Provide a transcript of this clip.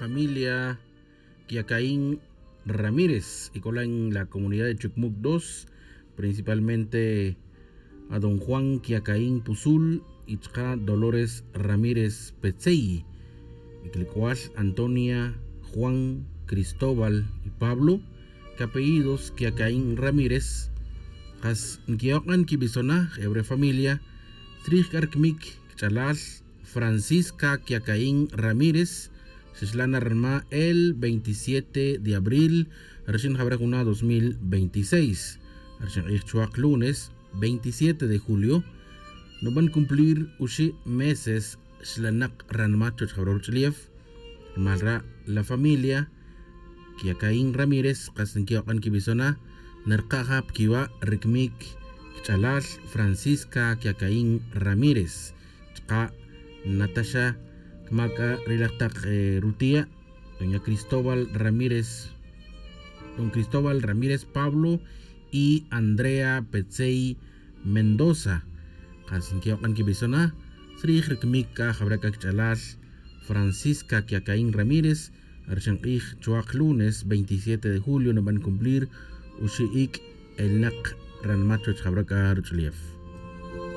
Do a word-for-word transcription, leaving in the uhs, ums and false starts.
Familia Quiacaín Ramírez y cola en la comunidad de Chucmuc dos, principalmente a don Juan Quiacaín Puzul y chka Dolores Ramírez Petzey, y clicual Antonia, Juan, Cristóbal y Pablo, que apellidos Quiacaín Ramírez. Kas nquiyokan quibisona ebre familia, trij carcmic ch'alal Francisca Quiacaín Ramírez, xixlana ranma el veintisiete de abril, rixin jabra juna dos mil veintiséis, rixin q'ij chuwak lunes veintisiete de julio, nuban cumplir uxi' meses xlanak ranma chuwech jabra ruch'ulef. Rumal ra' la familia Quiacaín Ramírez kas nquiyokan quibisona, narka' ja piquiwa' ricmic ch'alal Francisca Quiacaín Ramírez, chka' nataxa cmaca ri laj tak rutia' doña Cristóbal Ramírez, don Cristóbal Ramírez Pablo y Andrea Petzey Mendoza. Kas nquiyokan quibisona, srij ricmic c'a jabra c'a quich'alal Francisca Quiacaín Ramírez, rixin q'ij chuwak lunes veintisiete de julio nuban cumplir uxi' ic' elnak ranma chuwech jabra c'a ruch'ulef.